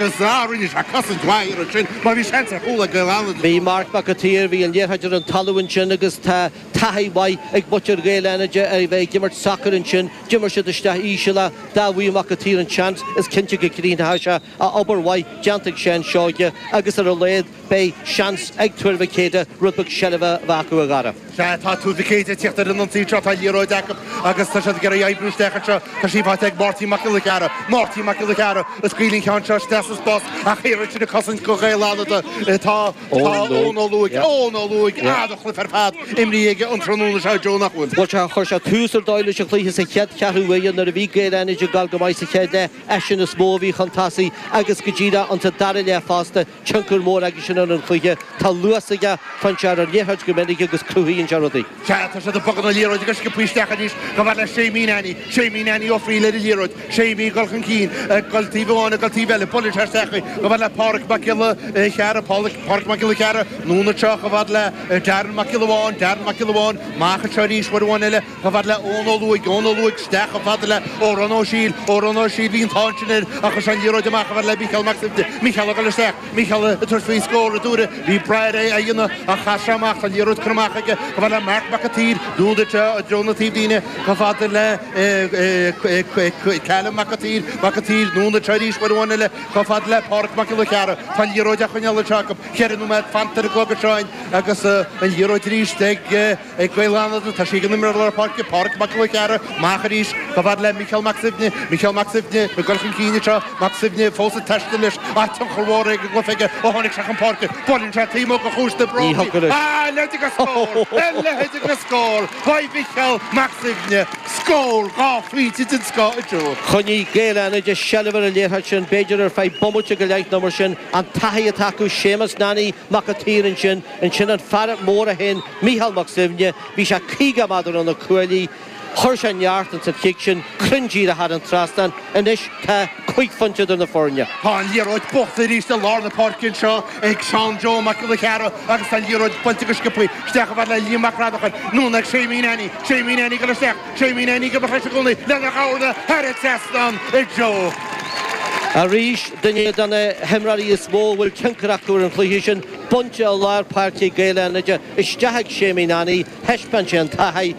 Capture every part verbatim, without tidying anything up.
Agus rinne sé cosaint mhaith ansin mar bhí seans ar chúl ag Gaeil Fhánada. Bhí Marc Mac an tSaoir, bhí an liathróid ar an talamh ansin agus tá taithí mhaith ag muintir Ghaeil Fhánada ar bheith ag imirt sacair ansin. D'imir siad isteach íseal é, dá bhfaigheadh Mac an tSaoir an seans, is cinnte go gcríochnódh sé a obair mhaith déanta ag Seán Seoige agus ar a laghad beidh seans ag Tuar Mhic Éadaigh rud beag seilbhe a bheith acu, a Dhara. Sea, tá Tuar Mhic Éadaigh ag tíocht ar an ionsaí anseo, tá an liathróid acu agus tá siad ag iarraidh oibriú isteach anseo. Tá sí faighte ag Máirtín Mac Giolla Chearra. Máirtín Mac Giolla Chearra ag scaoileadh an ceann seo isteach sa spás ach thiar ansin ag cosaint do Ghaeil Fhánada. Tá Eoin Ó Lúaigh, Eoin Ó Lúaigh, an-chluiche ar fad imrithe aige an tráthnóna seo, Joe, nach bhfuil? Bhuel, sea, chuir sé tús ar dóigh leis an chluiche sa chéad cheathrú uaire nuair a bhí Gaeil Fhánada ag gabháil go maith sa chéad leath. Eisean is mó a bhí chun tosaigh agus go díreach insa dara leath fosta, tionchar mór aige sin ar an chluiche. Tá luas aige, faigheann sé ar an liathróid go minic agus cruthaíonn sé rudaí. Sea, tá siad ag bogadh na liathróide go sciobtha isteach arís chomh fada le Séimí Nanny. Séimí Nanny Ó Frighil ar an liathróid. Séimí ag dul chun cinn, ag dul taobh amháin, ag dul taobh eile. Buaileann sé isteach í chomh fada le Páraic Mac Giolla Chearra. Páraic Mac Giolla Chearra, anonn anseo chomh fada le Darren Mac Giolla Bháin. Darren Mac Giolla Bháin, amach anseo arís uair amháin eile. Chomh fada le Eoin Ó Lúaigh, Eoin Ó Lúaigh isteach chomh fada le Odhrán Ó Siail, Odhrán Ó Siail, bhí an t-ádh ansin air ach chuir sé an liathróid amach chomh fada le Mícheál Mac Suibhne, Mícheál ag dul isteach, Mícheál ag tabhairt faoi scór a dúradh, bhí brath air é a dhéanamh ach chaith sé amach, tá an liathróid curtha amach aige chomh fada le Marc Mac an tSaoir, anonn anseo i dtreo na taobhlíne chomh fada le Callum Mac an tSaoir, Mac an tSaoir, anonn anseo arís uair amháin eile chomh fada le Páraic Mac Giolla Chearra, tá an liathróid á choinneáil anseo acu, ceithre nóiméad fanta ar an gclog anseo agus an liathróid arís ag. Ag Gaeil Fhánada, tá sí ag an imreoir lár páirce, Páraic Mac Giolla Chearra, amach arís chomh fada le Mícheál Mac Suibhne, Mícheál Mac Suibhne ag dul chun cinn anseo, Mac Suibhne fós ag taisteal leis, ach tionchar mhór ag an gcluiche aige ó tháinig sé chun páirce. Buaileann sé taobh amuigh de chuas na brógaí. A leithéid de scór! A leithéid de scór! Uaidh Mhícheál Mac Suibhne, scór dhá phointe den scoth a Joe. Choinnigh Gaeil Fhánada seilbh ar an liathróid sin, b'fhéidir ar feadh bomaite go leith nó mar sin. An taithí atá acu, Séamus Nanny Mac an tSaoir ansin, ansin an fear mór é féin, Mícheál Mac Suibhne, bhí sé caoga méadar ó na cuaillí, chuir sé neart ins an chic sin, cruinn díreach thar an trasnán. Anois tá cúig phointe idir na foirne. Tá an liathróid buachta arís i lár na páirce anseo ag Seán Joe Mac Giolla Chearra agus tá an liathróid buailte go sciobtha isteach chomh fada le Liam Mac Radacháin, anonn ag Séimí Nanny, Séimí Nanny ag dul isteach, Séimí Nanny ag imeacht leis i gcónaí lena dhorna thar an trasnán a Joe. Arís, duine de na himreoirí is mó a bhfuil tionchar acu ar an chluiche sin, bainte i lár páirce ag Gaeil Fhánada, isteach ag Séimí Nanny, thaispeáin sé an taithí,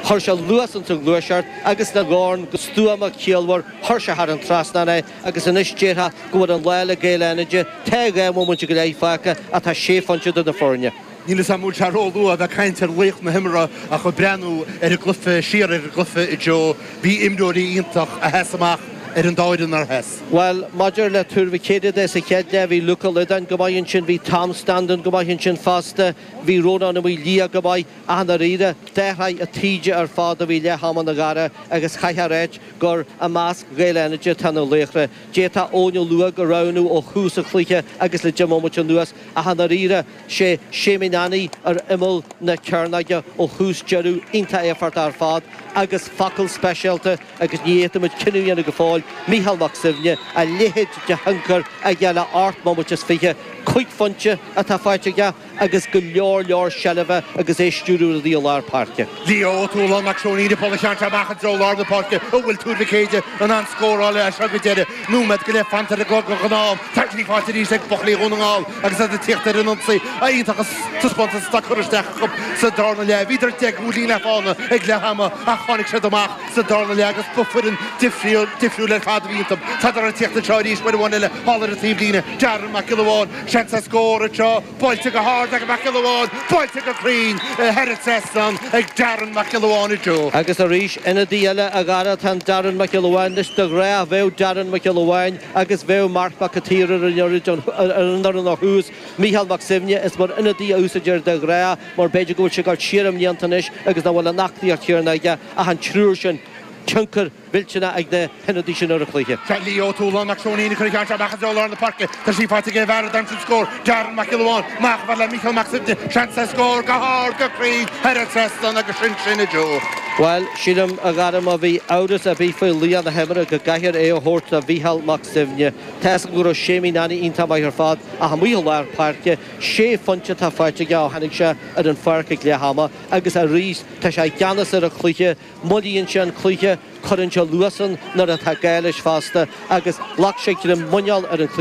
chuir sé luas ins an ghluaiseacht agus lena dhorn go stuama ciallmhar chuir sé thar an trasnán é agus anois déarfá go bhfuil an lá le Gaeil Fhánada, tá dhá bhomaite go leith fágtha ach tá sé phointe idir na foirne. Níl 'fhios a'm an bhfuil sé róluath a bheith ag caint ar laoch na himeartha ach ag breathnú ar an gcluiche siar ar an gcluiche a Joe, bhí imreoirí iontach a sheas amach ar an dá fhoireann nár sheas. Bhuel, maidir le Tuar Mhic Éadaigh de sa chéad leath, bhí Luke Ó Loideáin go maith ansin, bhí Tom Standún go maith ansin fosta, bhí Rónán Ó Maoildhia go maith ach i ndáiríre, d'athraigh an taoide ar fad ó bhí leath am ann a Dhara agus chaithfeá a ráit gur i measc Ghaeil Fhánada atá na laochra. D'fhéadfá Eoin Ó Lúaigh a roghnú ó thús an chluiche agus le deich mbomaite anuas ach i ndáiríre, sé Séimí Nanny ar imeall na cearnóige ó thús deireadh, iontach éifeachtach ar fad agus focal speisialta agus ní fhéadfaimid cinneadh a dhéanamh go fóill, Mícheál Mac Suibhne, a leithéid de thionchar aige le ocht mbomaite is fiche, cúig phointe atá faighte aige agus go leor leor seilbhe agus é ag stiúradh rudaí i lár páirce. Leo Ó Tualáin Mac Seoinín ag bualadh an cheann seo amach i dtreo lár na páirce, an bhfuil Tuar Mhic Éadaigh in ann scóráil as seo go deireadh. Nóiméad go leith fanta ar an gclog an ghnáth-am. Tá sí faighte arís ag buachaillí Dhún na nGall agus iad ag tíocht ar an ionsaí. Iontach an taispeántas atá curtha isteach acu sa darna leath. Bhíodar deich gcúilín le fána ag leath ama ach tháinig siad amach sa darna leath agus ba foireann difriúil ar fad a bhí iontu. Tádar ag tíocht anseo arís uair amháin eile thall ar an taobhlíne. Darren Mac Giolla Bháin, seans ar scór anseo. Buailte go hard ag Mac Giolla Bháin, buailte go cruinn thar an trasnán ag Darren Mac Giolla Bháin a Joe. Agus arís, ionadaí eile a Dhara atá in Darren Mac Giolla Bháin. Anois de ghnáth bheadh Darren Mac Giolla Bháin agus bheadh Marc Mac an tSaoir ar an fhoireann ó thús. Mícheál Mac Suibhne, is mar ionadaí a úsáidtear de ghnáth mar b'fhéidir go bhfuil sé ag dul siar i mblianta anois agus nach bhfuil an aclaíocht chéanna aige ach an triúr sin, tionchar millteanach ag na hionadaithe sin ar an chluiche. Seo Leo Ó Tualáin Mac Seoinín ag cur an cheann seo amach i dtreo lár na páirce. Tá sí faighte ag an bhfear a d'aimsigh an scór, Darren Mac Giolla Bháin. Amach chomh fada le Mícheál Mac Suibhne. Seans ar scór go hard, go cruinn, thar an trasnán agus sin sin a Joe. Well sílim a Dhara má bhí amhras ar bith faoi laoch na himeartha go gcaithfear é a thabhairt do Mhícheál Mac Suibhne. Tá go raibh Séimí Nanny iontach maith ar fad ach amuigh i lár páirce, sé phointe atá faighte aige ó tháinig sé ar an pháirc ag leath ama agus arís tá sé i gceannas ar an chluiche, moillíonn sé an cluiche, cuireann sé luas ann nuair atá gá leis fosta agus ghlac sé greim muineál ar an